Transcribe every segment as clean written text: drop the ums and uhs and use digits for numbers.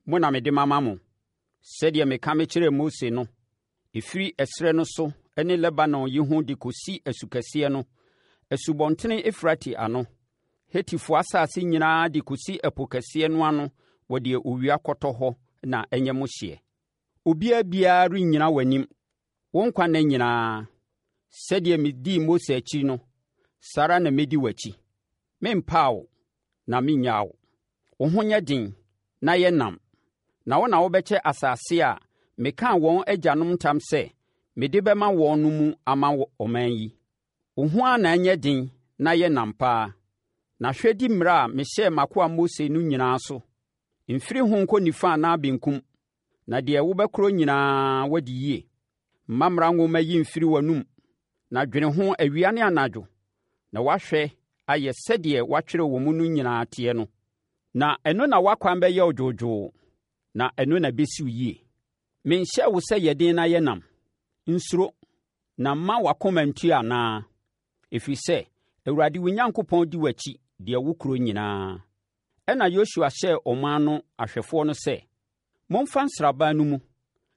mo na mede mama mo, sɛdeɛ meka mekyerɛɛ Mose no, ɛfiri ɛserɛ no so ne Lebanon yi ho de kɔsi asukɛseɛ no, Asubɔntene Eufrate ano, Hetifoɔ asase nyinaa de kɔsi ɛpo kɛseɛ no ano wɔ deɛ owia kɔtɔ hɔ na ɛnyɛ mo hyeɛ. Obiara biara rennyina w'anim wo nkwa nna nyinaa. Sɛdeɛ medii Mose akyi no, saa ara na mɛdi w'akyi. Merempa wo na merennyaa wo. Wo ho nyɛ den na yɛ nnam, na wo na wobɛkyɛ asase a mekaa wɔn agyanom ntam sɛ mede bɛma wɔn no mu ama ɔman yi. Wo ho ara na ɛnyɛ den na yɛ nnam paa, na hwɛ di mmara a mehyɛɛ m'akoa Mose no nyinaa so. Mfiri ho nkɔ nifa anaa benkum, na deɛ wobɛkorɔ nyinaa woadi yie. Mma mmara nwoma yi mfiri w'anom, na dwene ho awia ne anadwo, na woahwɛ ayɛ sɛdeɛ wɔatwerɛ wɔ mu no nyinaa teɛ no. Na ɛno na w'akwan bɛyɛ wo dwoodwoo, na ɛno na ɛbɛsi wo yie. Menhyɛɛ wo sɛ yɛ den na yɛ nnam? Nsuro, na mma w'akoma nntu anaa? Ɛfiri sɛ Awurade wo Nyankopɔn di w'akyi deɛ wokorɔ nyinaa. Ɛnna Yosua hyɛɛ ɔman no ahwɛfoɔ no sɛ, Momfa nsraban no mu,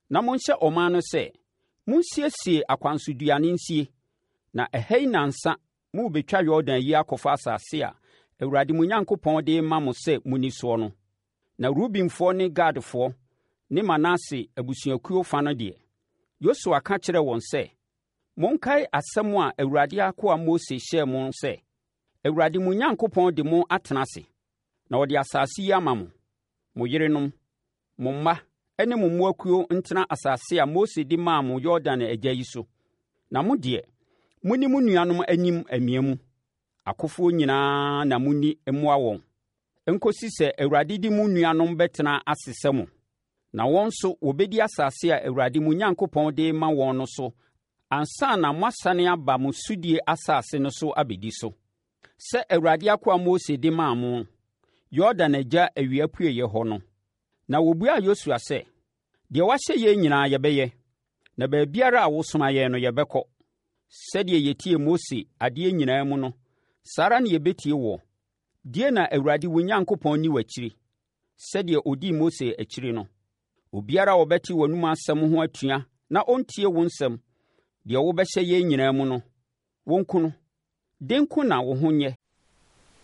na monhyɛ ɔman no sɛ, 'Monsiesie akwansoduane nsie, na ɛha yi nnansa morebɛtwa Yordan yi akɔfa asase a Awurade mo Nyankopɔn de rema mo sɛ monni soɔ no. Na Rubenfoɔ ne Gadfoɔ ne Manase abusuakuo fa no deɛ, Yosua ka kyerɛɛ wɔn sɛ, Monkae asɛm a Awurade akoa Mose hyɛɛ mo sɛ, Awurade mo Nyankopɔn de mo atena ase, na ɔde asase yi ama mo, mo yerenom, mo mma ne mo mmoakuo ntena asase a Mose de maa mo Yordan agya yi so. Na mo deɛ, monni mo nuanom anim amia mu, akofoɔ nyinaa na monni mmoa wɔn, nkɔsi sɛ Awurade de mo nuanom bɛtena ase sɛ mo. Na wɔn nso wɔbɛdi asase a Awurade mo Nyankopɔn de rema wɔn no so ansa na moasane aba mo sodie asase no so abɛdi so, sɛ Awurade akoa Mose de maa mo, Yordan agya awiapueeɛ hɔ no. Na wɔbuaa Yosua sɛ, Deɛ woahyɛ yɛn nyinaa yɛbɛyɛ, na baabiara a wosoma yɛn no yɛbɛkɔ. Sɛdeɛ yɛtiee Mose adeɛ nyinaa mu no, saa ara na yɛbɛtie woɔ. Die na Awurade wo Nyankopɔn nni w'akyiri, sɛdeɛ ɔdii Mose akyiri no. Obiara a ɔbɛte w'anomu asɛm ho atua na ɔntie wo nsɛm, deɛ wobɛhyɛ yɛn nyinaa mu no, wɔnku no. Den nko na wo ho nyɛ.